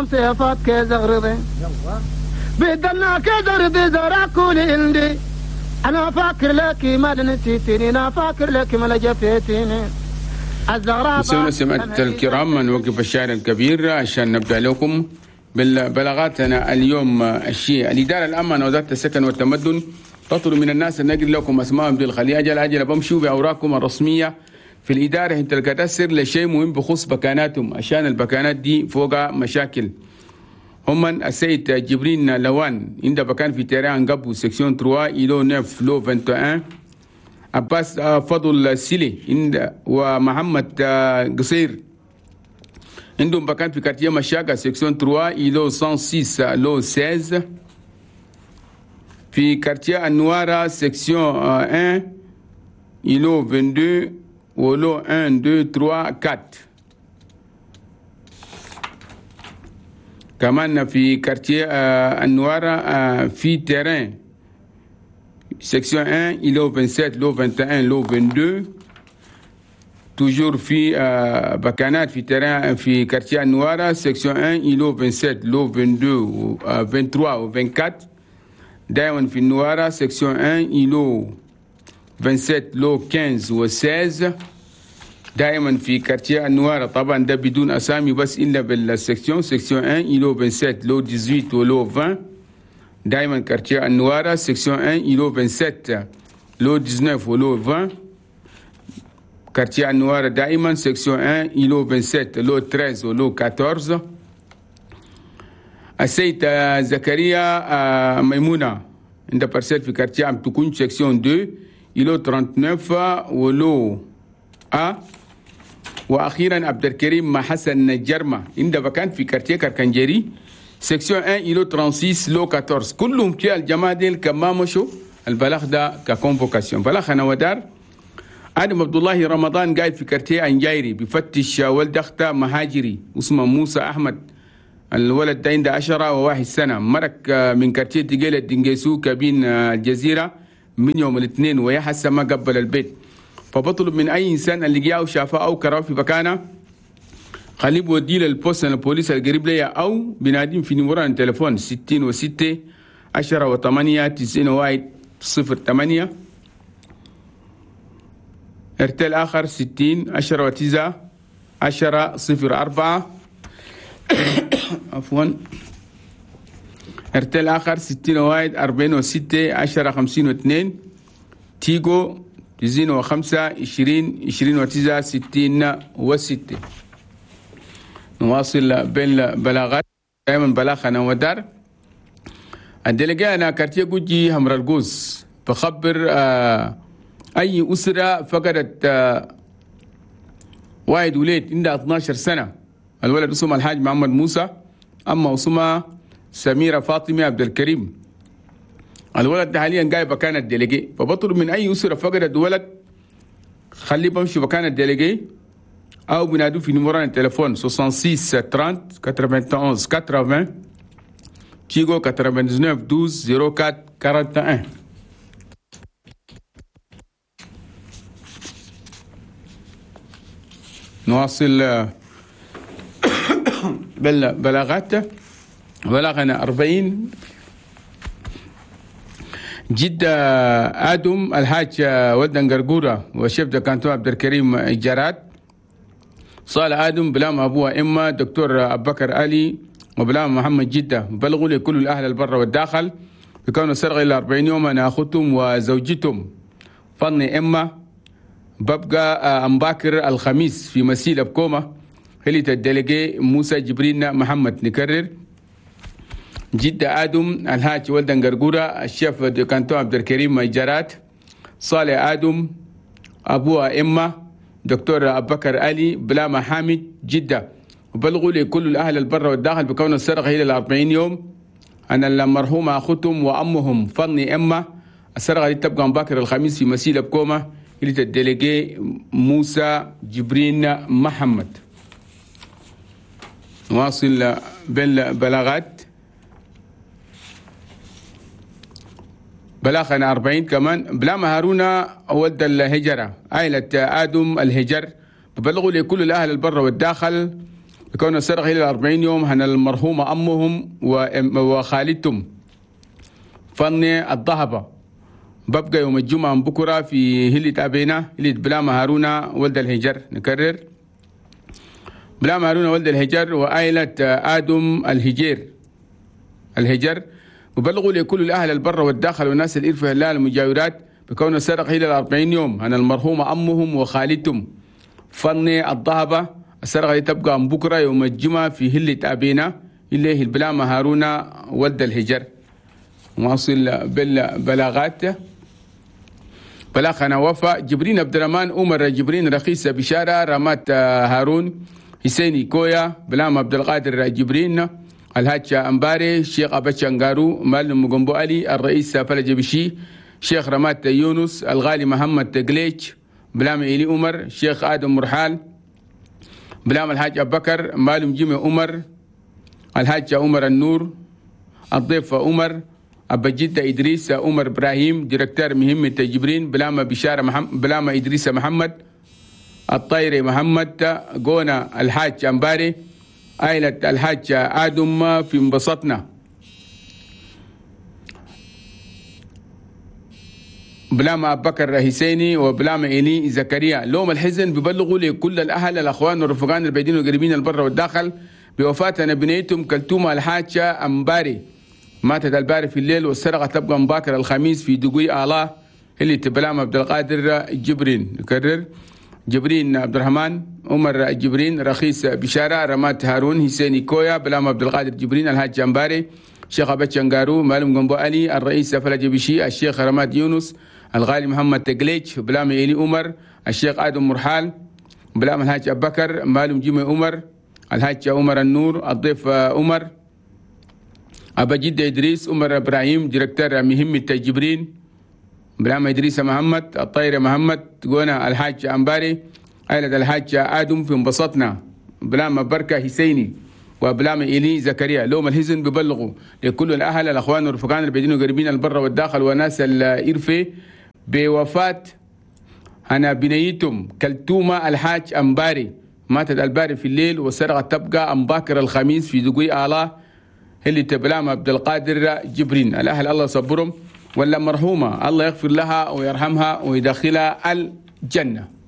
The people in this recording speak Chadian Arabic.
سيفات كزغرضي بدنا كزغرضي زرع كل عندي انا فاكر لك ما نسيتني انا فاكر لك ما جفيتني. سمعت الكرام، نوقف الشاعر الكبير عشان نبدا لكم بالبلاغاتنا اليوم. الشيء الإدارة العامة وزارة السكن والتمدن تطلب من الناس أن نقل لكم أسمائهم بالخلية أجل أجل بمشوا بأوراقكم الرسمية في الإدارة انت الكدسر لشيء مهم بخصوص بكاناتهم، عشان البكانات دي فوق مشاكل. هم السيد جبرين لوان عند بكان في terrain قبو section 3 îlot 9 lot 21، عباس فضل سيلي عند ومحمد قصير عندهم بكان في quartier مشاكا section 3 îlot 106 lot 16، في quartier النوارة section 1 îlot 22 و lot 1 2 3 4، كمان في quartier النوارة في terrain section 1 îlot 27 lot 21 lot 22، toujours في بكانات في terrain في quartier النوارة section 1 îlot 27 lot 22 23 و 24، دائما في النوارة section 1 îlot 27 lot 15 و 16، دائما في quartier النوارة. طبعا ده بدون اسامي بس الا بال section، section 1 îlot 27 lot 18 و lot 20، دائما quartier النوارة section 1 îlot 27 lot 19 و lot 20، quartier النوارة دائما section 1 îlot 27 lot 13 و lot 14. السيد زكريا ميمونة عند parcelle في quartier عم تكون section 2 îlot 39 و lot A. واخيرا عبد الكريم حسن جرمة عند بكان في quartier كركنجري section 1 îlot 36 lot 14. كلهم كي الجماعة ديل كما مشوا البلاغ ده ك convocation. بلاغ انا ودار ادم عبد الله رمضان قاعد في quartier انجايري بفتش ولد اخته مهاجري اسمه موسى احمد، الولد ده عنده 10 سنة، مرك من quartier تقيلة دنجيسو cabine الجزيرة من يوم الاثنين ويا حسه ما قبل البيت. فبطلب من اي انسان اللي جاء وشافه او كراه في مكانه خليه بوديه لل poste البوليس القريب ليا او بناديم في numéro التليفون 66 10 و8 91 08، ارتال اخر 60 10 و9 10 04 عفوا، ارتال اخر 60 1 46 10 52، تيجو 95 20 29 66. نواصل بالبلاغات دائما بلاغنا ودار ال délégué انا quartier جوجي همر القوس بخبر اي اسره فقدت واحد وليد عندها 12 سنة، الولد اسمه الحاج محمد موسى، اما اسمها سميرة فاطمة عبد الكريم. الولد ده حاليا قاعد مكان ال délégué، فبطلب من اي اسره فقدت ولد خليه بمشي مكان ال délégué او بنادوه في numéro التليفون 66 30 91 80 تيغو 99 12 04 41. نواصل بالبلاغات. بلغنا 40 جدة آدم الحاج ولدن قرقورة و chef de canton عبد الكريم جراد، صالح آدم بلام أبوها إما دكتور أبو بكر علي وبلام محمد جدة. بلغوا لكل الأهل البر والداخل بكون السرقة إلى 40 يوم أنا أخوتهم وزوجتهم فني إما ببقى أمباكر الخميس في مسيلة بكومة هلية ال délégué موسى جبرين محمد. نكرر جدة آدم الحاج ولدن قرقورة ال chef de canton عبد الكريم جرات، صالح آدم أبوها إما دكتور أبو بكر علي بلاما حامد جدة. وبلغوا لكل الأهل البر والداخل بكون السرقة إلى 40 يوم أن المرحومة أخوتهم وأمهم فني إما السرقة دي تبقى مباكر الخميس في مسيلة بكومة إلى ال délégué موسى جبرين محمد. نواصل بالبلاغات. بلاغنا 40 كمان بلاما هارون ولد الهجرة عائلة آدم الهجر ببلغوا لكل الأهل البر والداخل بكون السرقة إلى 40 يوم هن المرحومة أمهم وخالتهم فني الذهبة. ببقى يوم الجمعة بكرة في هلة أبينا هلة بلام هارونا ولد الهجر. نكرر بلام هارونا ولد الهجر وآيلة آدم الهجر. وبلغوا لكل الأهل البر والداخل والناس الإرفة هلال المجاورات بكون السرقة إلى 40 يوم هن المرحومة أمهم وخالتهم فني الذهبة. السرقة تبقى من بكرة يوم الجمعة في هلة أبينا اللي هي البلامة هارونا ولد الهجر. واصل بالبلاغات. بلاغنا وفاء جبرين عبد الرحمن عمر جبرين رخيصة بشارة رمات هارون حسيني كويا بلام عبد القادر جبرين الهاتشا أمباري الشيخ أبتشانغارو مال مجنبو علي الرئيس فلج بشي شيخ رمات يونس الغالي محمد تقليج بلام إلي عمر شيخ آدم مرحال بلام الحاج أبو بكر مالم جيمي عمر الحاج عمر النور الضيف عمر أبا جدة إدريس عمر إبراهيم ديركتور مهمة جبرين بلام بشارة محمد بلام إدريس محمد الطيري محمد قونا الحاج أمباري عائلة الحاج آدم في انبسطنا بلام أبو بكر حسيني وبلام إلي زكريا. لوم الحزن ببلغوا لكل الأهل الأخوان والرفقان البعيدين والقريبين البر والداخل بوفاة بنيتهم كلتومة الحاجة أمباري ماتت الباري في الليل والسرقة تبقى مباكر الخميس في دقوي آلاه اللي تبلام عبد القادر جبرين. نكرر جبرين عبد الرحمن عمر جبرين رخيص بشارة رمات هارون حسيني كويا بلام عبد القادر جبرين الحاج أمباري شيخ أبتشانغارو مالم جنبو علي الرئيس فلج بشي الشيخ رماد يونس الغالي محمد تقليج بلام إلي عمر الشيخ آدم مرحال بلام الحاج أبو بكر مالم جيمي عمر الحاج عمر النور الضيف عمر أبا جدة إدريس عمر إبراهيم ديركتور مهمة جبرين بلام إدريس محمد الطير محمد قونا الحاج أمباري عائلة الحاج آدم في انبسطنا بلام بركة حسيني وبلام إلي زكريا. لوم الحزن ببلغوا لكل الأهل الأخوان والرفقان البعيدين والقريبين البر والداخل وناس الإرفي بوفاة أنا بنيتهم كلتومة الحاج أمباري ماتت الباري في الليل والسرقة تبقى أمباكر الخميس في دقوي آلاه اللي تبلام عبد القادر جبرين. الأهل الله صبرهم ولا مرحومة الله يغفر لها ويرحمها ويدخلها الجنة.